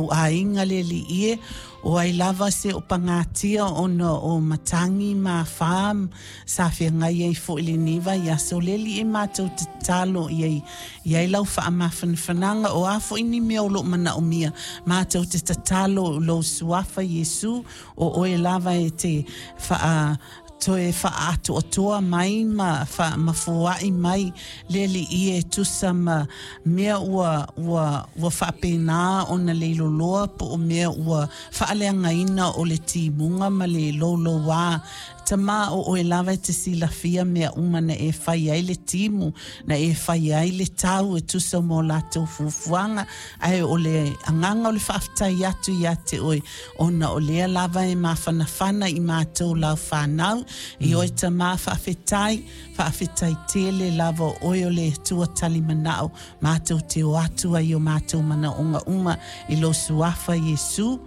matou aiga le Alii e, o ai lava se o pagatia ona o matagi ma afa sa feagai ai foi i lenei vaiaso, le Alii e, matou te tatalo ia i ai lau faamafanafanaga, o a foi ni mea o lo o manaomia, matou te tatalo i lou suafa Iesu, o oe lava e te faa toe faaatoatoa mai ma ma foai mai le Alii e tusa ma mea ua ua ua faapena ona leiloloa po o mea ua faaleagaina o le timuga ma le loulouā. Tama, o oe lava e te silafia mea uma na e fai ai le timu, na e fai ai le tau e tusa mo latou fuafuaga, ae o le agaga o le faafetai atu ia te oe, ona o lea lava e mafanafana i matou lau fanau. I oe Tama, faafetai, faafetai tele lava, o oe o le Atua talimanao, matou te o atu ai o matou manaoga uma i lou suafa Iesu.